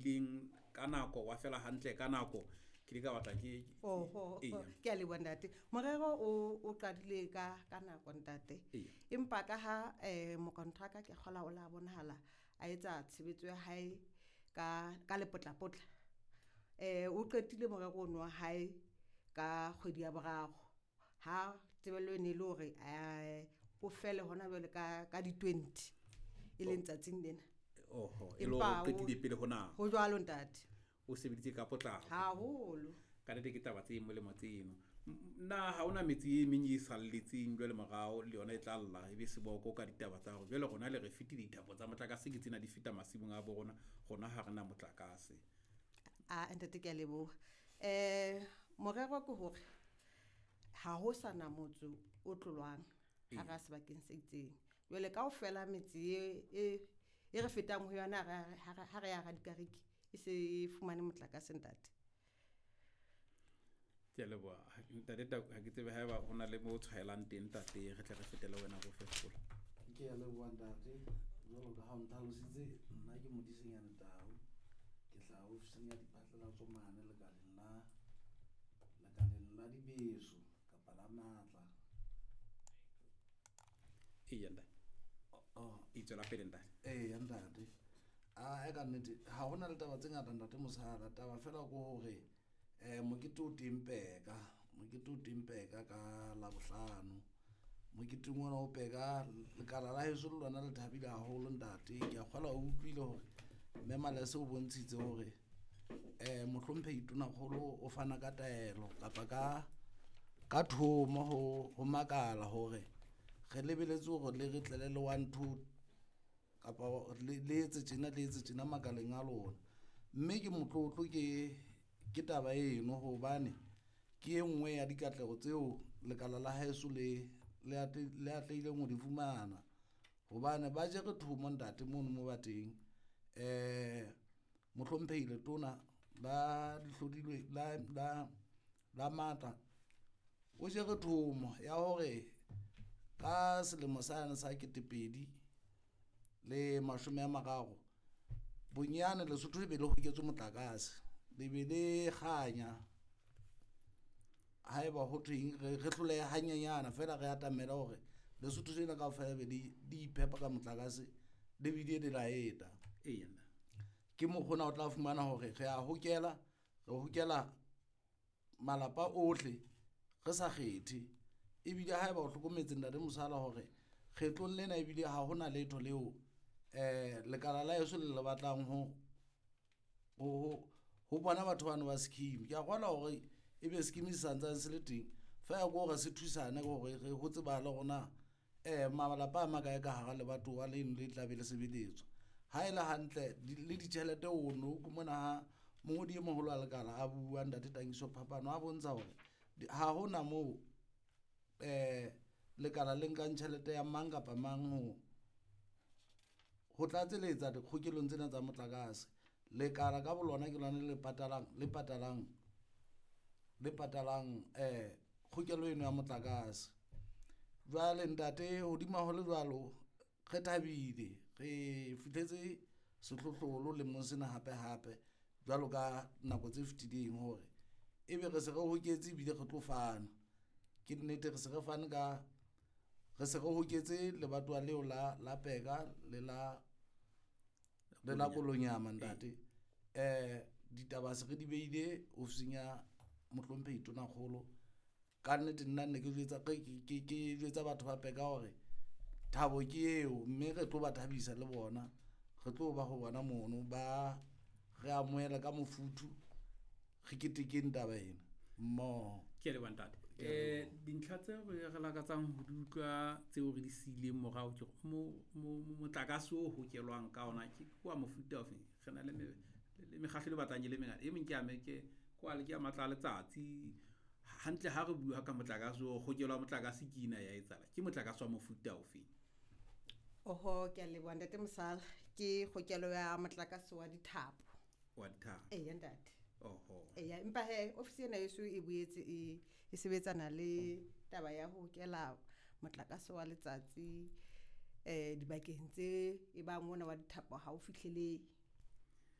qadileng ka nako wa fela hantle ka nako ke le ka batla ke Oho, Eya. ke a leboha ntate. Morero o qadile ka nako ntate. Eya. Empa ka ha mokontraka ke kgola o la bonahala a etsa tshebetso ya hae ka lepotlapotla. O qetile morero ono wa hae ka kgwedi ya boraro. Ha tebello e ne le hore o fele hona jwale ka di 20 e leng tsatsing lena. Oho, e le hore Empa o qetile pele ho nako. Ho jwalo ntate. O sebeditse ka potlako. Haholo. Ka nnete ke taba tse molemo tseno. Na ha hona metse e meng e salletseng jwale morao le yona e tla lla ebe seboko ka ditaba tsa hore jwale rona le re fetile dithapo tsa motlakase ke tsena di feta masimong a bo rona, rona ha rena motlakase. A ntate ke a leboha. Morero ke hore ha ho sana motse o tlolwang hara sebakeng se itseng. Jwale kaofela metse e re fetang ho yona ha re ya Radikariki e se e fumane motlakase ntate. Ke a leboha. Ntate Tau, ha ke tsebe haeba ho na le mo tshwaelang teng ntate, re tle re fetele wena ho fetola. Ke a leboha ntate. Jwalo ka ha o ntlhalositse, nna ke Modisenyane Tau. Ke hlaha ofising ya diphatlalatso mane lekaleng la dibeso kapa la matla. Eya ntate. Oh. E tswela pele ntate. Eya ntate. A e ka nnete ha hona le taba tse ngata ntate Mosala, taba fela ke hore mokete o teng Peka, mokete o teng Peka ka Labohlano. Moketeng ona o Peka lekala la heso le lona le thabile haholo ntate. Ke a kgolwa o utlwile hore Mme Malese o bontshitse hore mohlomphehi Tonakgolo o fana ka taelo kapa ka thomo ho makala hore re lebeletse hore le re tlele le 1 2 kapa le etse tjena, le etse tjena makaleng a lona. Mme ke motlotlo ke taba eno hobane ke e nngwe ya dikatleho tseo lekala la heso le atlehileng ho di fumana. Hobane ba jere thomo ntate mono mo ba teng. Mohlomphehi Letona la dihlodilwe la matla o jere thomo ya hore ka selemo sane sa ketepedi le mashome a mararo bonyane Lesotho le be le hoketswe motlakase, le be le kganya. Haeba ho thweng re hloleha hanyenyana fela re atamela hore Lesotho lena kaofela be le iphepa ka motlakase le bile le laeta. Eya. Ke mokgona o tla fumana hore re a hokela, re hokela malapa ohle re sa kgethe. Ebile haeba o hlokometse ntate Mosala hore kgetlong lena ebile ha hona letho leo lekala la heso le le batlang ho bona batho bano ba scheme. Ke a kgolwa hore ebe scheme se santsane se le teng, feela ke hore se thusane hore re ho tsebahale hore na malapa a makae ka hara lebatowa leno le tla be le sebeletswa. Ha e le hantle le ditjhelete o no utlwe mona ha mongodi e moholo wa lekala a bua ntate Tankiso Phapano a bontsha hore ha hona moo lekala le nkang tjhelete ya mang kapa mang ho tlatseletsa dikgokelong tsena tsa motlakase. Lekala ka bolona ke lona le patalang, le patalang, le patalang kgokelo eno ya motlakase. Jwale ntate hodima ho le jwalo re thabile, re fihletse sehlohlolo lemong sena hape hape jwalo ka nako tse fetileng hore ebe re se re hoketse ebile re tlo fana. Ke nnete re se re fane ka, re se re hoketse lebatowa leo la Peka le la, le la Kolonyama ntate. Ditaba se re di beile ofising ya mohlomphehi Tonakgolo. Ka nnete nna ne ke jwetsa, ke jwetsa batho ba Peka hore thabo ke eo, mme re tlo ba thabisa le bona. Re tlo ba ho bona mono ba re amohela ka mofuthu, re ketekeng taba ena mmoho. Ke a leboha ntate. Dintlha tse re lakatsang ho di utlwa tseo re di siileng morao ke hore motlakase o hokelwang ka ona ke wa mofuta ofe? Re na le mekgahlo e batlang e le mengata. E meng ke ya me, ke kwale ke ya matla a letsatsi. Hantle ha re bua ka motlakase o hokelwa motlakase ke ena ya etsahala. Ke motlakase wa mofuta ofe? Oho, ke a leboha ntate Mosala. Ke kgokelo ya motlakase wa dithapo. Wa dithapo. Eya ntate. Oho. Eya, empa he ofisi ena heso e boetse e sebetsana le taba ya ho hokela motlakase wa letsatsi dibakeng tse e bang mona wa dithapo ha o fihlele.